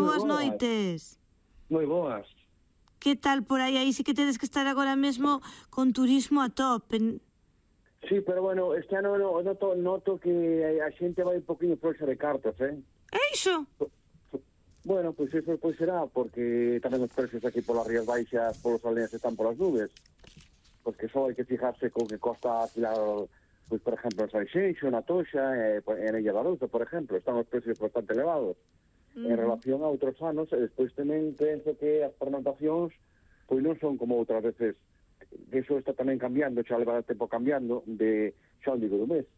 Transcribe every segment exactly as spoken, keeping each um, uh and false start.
boas noites. Moi boas. Que tal por aí? Aí sí que tedes que estar agora mesmo con turismo a tope. Sí, pero bueno, este ano no, noto, noto que a xente vai un poquinho floxa de cartas, eh? É iso? Bueno, pois pues eso pois será, porque tamén os precios aquí polas Rías Baixas, polos aldeas están polas nubes. Porque só hai que fijarse con que costa alquilar, pois, por exemplo, en Sanxenxo, na Toxa, eh, en Illa da Louza, por exemplo, están os precios bastante elevados. Uh -huh. En relación a outros anos, e despois tamén penso que as pernoctacións pois non son como outras veces, que iso está tamén cambiando, xa leva tempo cambiando, de xa non digo do mes.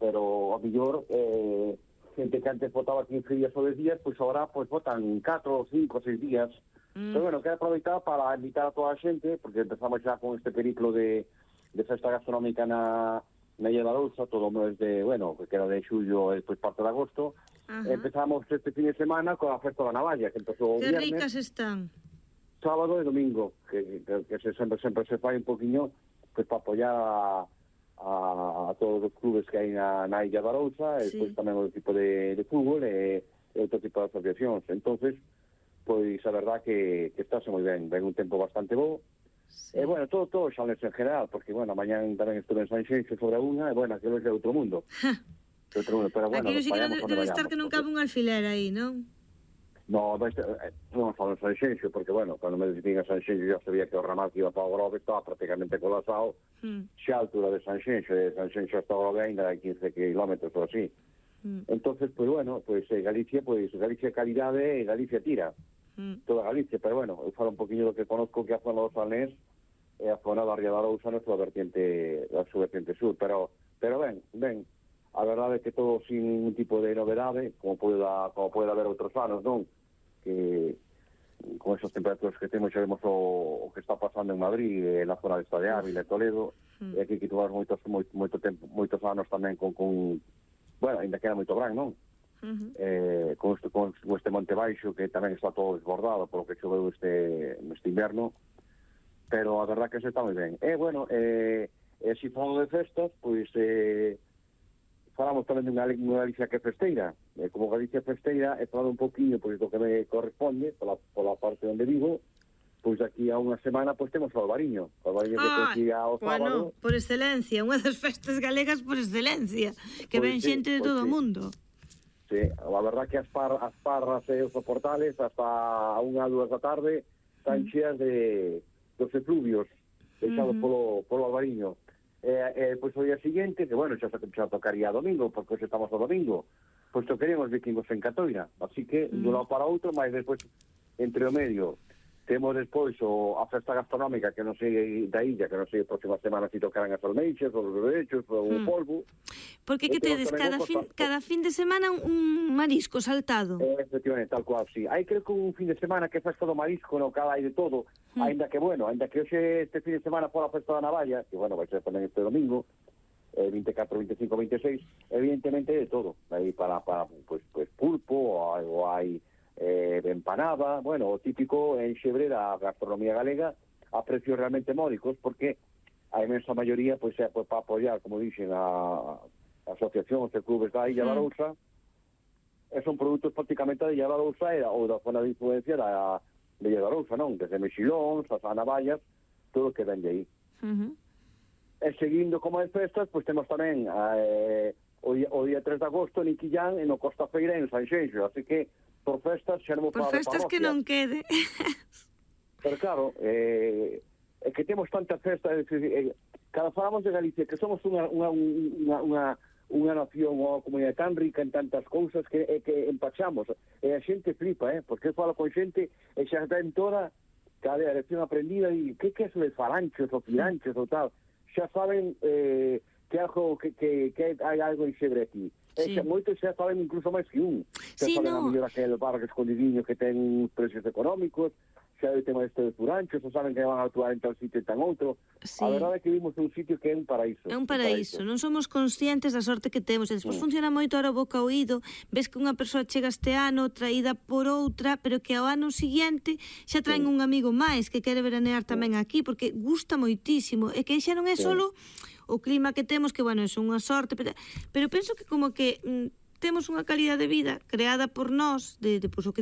Pero, a mellor, eh, xente que antes votaba quince días ou dez días, pois agora pois votan catro, cinco, seis días. Mm. Pero bueno, quero aproveitar para invitar a toda a xente, porque empezamos xa con este periplo de, de festa gastronómica na, na Illa da Louza, todo o mes de, bueno, que era de xullo e despois parte de agosto. Uh -huh. Empezamos este fin de semana con a festa da Navalla, que empezou o viernes. Que ricas están. Sábado e domingo, que, que, que se, sempre, sempre se fai un poquinho pues, para apoiar a, a, a todos os clubes que hai na, na Illa da Louza, sí. E despois tamén o tipo de, de fútbol e, e outro tipo de asociacións. Entonces, pois a verdad que, que estáse moi ben, ven un tempo bastante bo. Sí. E bueno, todo, todo xa en general, porque bueno, mañan tamén estuve en Sanxenxo sobre unha, e bueno, aquilo é de outro mundo. De outro mundo, pero bueno, aquilo sí que debe, debe estar que non cabe un alfiler aí, non? No, non falo en Sanxenxo, porque bueno, cando me decidín a Sanxenxo já sabía que o ramal que iba para o Grove estaba prácticamente colapsado, mm. xa a altura de Sanxenxo, de Sanxenxo hasta o Grove ainda hai quince kilómetros ou así. Mm. Entonces, pues bueno, pues eh, Galicia, pues Galicia calidade e Galicia tira. Mm. Toda Galicia, pero bueno, eu falo un poquinho do que conozco, que a zona dos Salnés e a zona da Ría da Louza na súa vertiente, da súa vertiente sur, pero pero ben, ben, a verdade é que todo sin ningún tipo de novedade, como pode, como pode haber outros anos, non? Que con esas temperaturas que temos xa vemos o, o que está pasando en Madrid, en la zona de esta de Ávila e Toledo, mm. e aquí que tuvamos moitos, moito, moito tempo, moitos anos tamén con, con bueno, ainda que era moito gran, non? Uh -huh. eh, con, este, con este Monte Baixo que tamén está todo desbordado polo que choveu este, este inverno, pero a verdad que se está moi ben. E, bueno, eh, e se falamos de festas, pois eh, falamos tamén de unha Galicia que festeira. Eh, como Galicia festeira, he falado un poquinho pois do que me corresponde, pola, pola parte onde vivo, pois aquí a unha semana pois temos o Albariño. O Albariño que coincide ao sábado. Bueno, por excelencia, unha das festas galegas por excelencia, que ven xente de todo o mundo. Sí, a verdad que as, par, as parras e os soportales hasta a unha, dúas da tarde están cheas de dos efluvios deixados uh -huh. polo, polo Albariño. Eh, eh, pois o día seguinte, que bueno, xa, xa tocaría domingo, porque hoxe estamos ao domingo, pois tocaríamos vikingos en Catoira, así que mm. dun lado para outro, mas despois entre o medio temos despois o, a festa gastronómica que non sei da illa, que non sei a próxima semana si tocarán as almeixas, os berechos, o mm. polvo. Porque que tedes cada fin, cada fin de semana un marisco saltado? Eh, efectivamente, tal cual, sí. Hai creo que un fin de semana que é festa do marisco, no cal hai de todo, mm. ainda que bueno, ainda que hoxe este fin de semana fora a festa da Navalla, que bueno, vai ser tamén este domingo, eh, veinticuatro, veinticinco, veintiséis, evidentemente de todo. Aí para, para pues, pues pulpo, ou hai eh, empanada, bueno, o típico en Xebre da gastronomía galega, a precios realmente módicos, porque a imensa maioría, pois, é pues, para apoiar, como dixen, a, a asociacións e clubes da Illa da Louza, e son produtos prácticamente da Illa da Louza ou da zona de influencia da, da Illa da Louza, non? Desde mexilóns, as anavallas, todo o que vende aí. Uh -huh. E seguindo como as festas, pois temos tamén eh, o, o día tres de agosto en Iquillán, en o Costa Feira, en Sanxenxo, así que por festas xa non por festas que non quede. Pero claro, eh, é que temos tantas festas, eh, cada falamos de Galicia, que somos unha, unha, unha, unha, unha nación ou comunidade tan rica en tantas cousas que, eh, que empachamos, e a xente flipa, eh, porque eu falo con xente e xa ten toda cada lección aprendida e que que é eso de falanchos ou filanchos ou tal, xa saben eh, que algo que, que, que hai algo en Xebre aquí. Sí. E moitos xa saben incluso máis que un. Xa sí, saben no. a mellor aquel bar escondidiño que ten precios económicos, xa o tema este de furanchos, xa saben que van a actuar en tal sitio e tan outro. Sí. A verdade é que vimos un sitio que é un paraíso. É un paraíso, un paraíso. Non somos conscientes da sorte que temos. E despois mm. funciona moito ahora o boca ao oído, ves que unha persoa chega este ano traída por outra, pero que ao ano seguinte xa traen sí. un amigo máis que quere veranear tamén sí. aquí, porque gusta moitísimo. E que xa non é sí. solo o clima que temos, que, bueno, é unha sorte, pero, pero penso que como que mm, temos unha calidad de vida creada por nós, de, de pues, o que